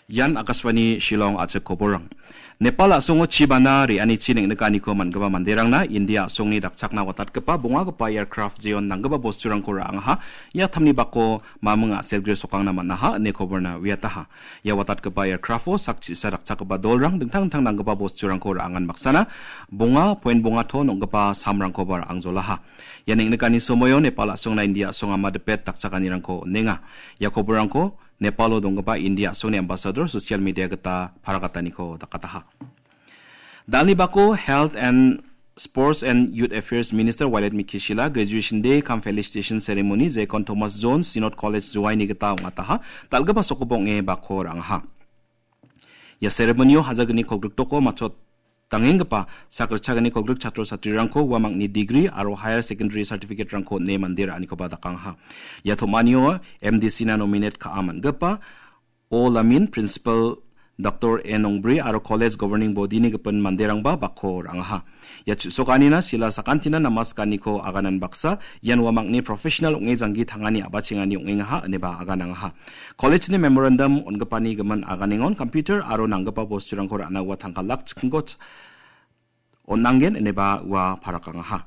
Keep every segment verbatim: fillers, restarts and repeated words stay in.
Ian Akashvani Shillong a·chik koborrang. Nepal a·songo chi bana re·anichi neng·nikaniko man·gipa manderangna India a·songni dakchakna watatgipa bongagipa aircraft jeon nanggipa bosturangko ra·angaha, ia tamni bako maming a·selgre sokangna man·aha ine koborna uiataha. Ia watatgipa aircraft-o sak chi·sa dakchakgipa dolrang dingtang dingtang nanggipa bosturangko ra·angan baksana bonga point bonga ton ong·gipa samrangkoba ra·angjolaha. Ia neng·nikani somoio Nepal a·songna India a·song ama dipet dakchakanirangko on·enga. Ia koborrangko Nepalo donggipa India a·songni ambasador social media gita parakataniko dakataha. Dalni bako Health and Sports and Youth Affairs Minister Wailadmiki Shylla graduation day cum felicitation ceremony jekon Thomas Jones Synod College Joaini gita ong·ataha, dal·gipa sokobo ong·e bako ra·angaha. Ia ceremonyo hajalgni kolgriktoko matchot dangenggipa sak ritchagni kolgrik chatro chatrirangko uamangni degree aro higher secondary certificate-rangko on·e mande ra·anikoba dakangaha. Ia tom·anio M D C-na nominate ka·a man·gipa O Lamin, Principal Doctor A Nongbri aro College Governing Body-ni gipin manderangba bako ra·angaha. Ia chu·sokanina Shylla sakantina namaskaniko aganan baksa, ian uamangni professional ong·e janggi tangani a·bachengani ong·engaha ineba aganangaha. College-ni memorandum on·gipani gimin aganengon computer aro nanggipa bosturangko ra·na ua tangka lak chikkingko ch-, on·angen ineba ua parakangaha.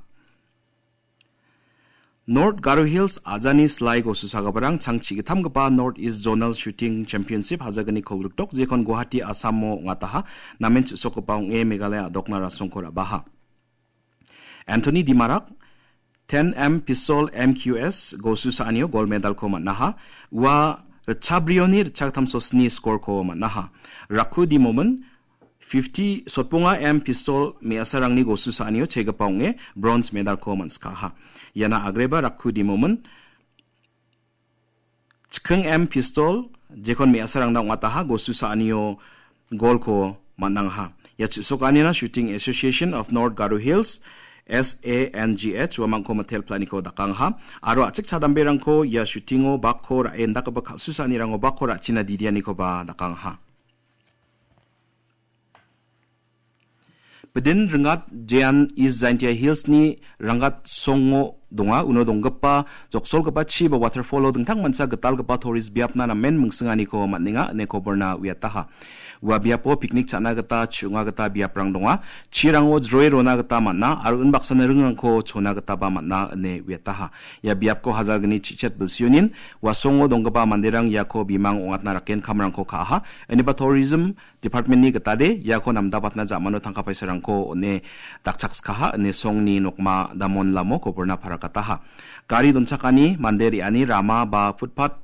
North Garo Hills ajani slai gosusagiparang changchi gittamgipa North East Zonal Shooting Championship hajalgni kolgrikdok jekon Guwahati, Assam-o ong·ataha, namen chu·sokgipa ong·e Meghalaya a·dokna rasongko ra·baha. Anthony Dimarak, ten M pistol M Q S gosu sa·anio gold medal-ko man·aha. Ua ritchabrioni ritchagittam sosni score-ko man·aha. Rakhu Dimomin, fifty sotbonga M pistol me·asarangni gosu sa·anio chegipa ong·e bronze medal-ko man·sikaha. Iana agreba Rakhu Dimomin, chikking M pistol, jekon me·asarangna ong·ataha, gosu sa·anio golko man·angaha. Ia chu·sokanina Shooting Association of North Garo Hills, S A N G H, uamangko mitel planiko dakangaha. Aro a·chik chadamberangko ia shootingo bakko ra·e indakgipa kal·susaanirango bakko ra·china didianikoba dakangaha. Bidin ringat jean East Jaintia Hills-ni Rangat songo donga, uno donggipa joksolgipa chi ba waterfall-o dingtang mancha gitalgipa tourist biapna namen mingsinganiko man·enga ine koborna uiataha. Ua biapo picnic cha·na gita, chu·onga gita biaprang donga. Chirango jroe rona gita man·a aro unbaksana ringrangko chona gitaba man·a ine uiataha. Ia biapko hajalgni chichet bilsionin ua songo donggipa manderang iako bimang ong·atna rakenkamrangko ka·aha. Ineba tourism Department-ni gitade iako namdapatna ja·mano tangka paisarangko on·e dakchakskaha ine songni nokma damon lamo koborna parakataha. Gari donchakani, mande re·ani rama ba footpath,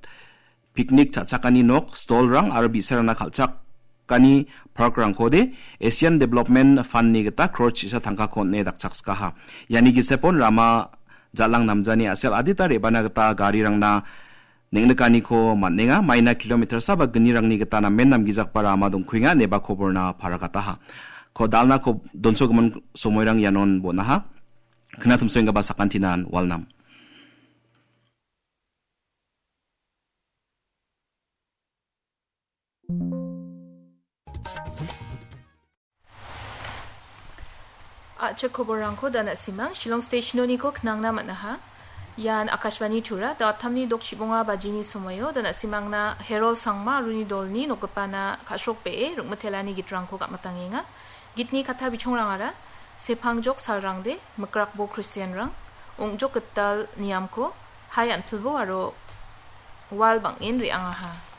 picnic cha·chakani nok, stall-rang aro bi·sarangna kal·chakani park-rangkode Asian Development Fund-ni gita crore chisa tangkako on·e dakchakskaha. Iani gisepon rama jal·ang namjani a·sel adita re·bana gita garirangna neng·nikaniko man·enga, maina kilometer saba gnirangni gita namen namgijakba rama dongkuenga ineba koborna parakataha. Ko dalna ko donsogimin somoirang ianon bon·aha. Knatimsoenggipa sakantinan walnam. A·chik koborrangko da na·simang, Shillong Station-oniko knangna man·aha. Ian Akashvani Tura, da·attamni dokchibonga bajini somoio da na·simangna Herol Sangma aro uni dolni nokgipana ka·srokbee rikmitelani gitrangko gam·atangenga. Gitni katta bichongrangara, sepangjok salrangde, mikrakbo Kristianrang, ong·jok gital niamko, hai anpilbo aro wal bang·en re·angaha.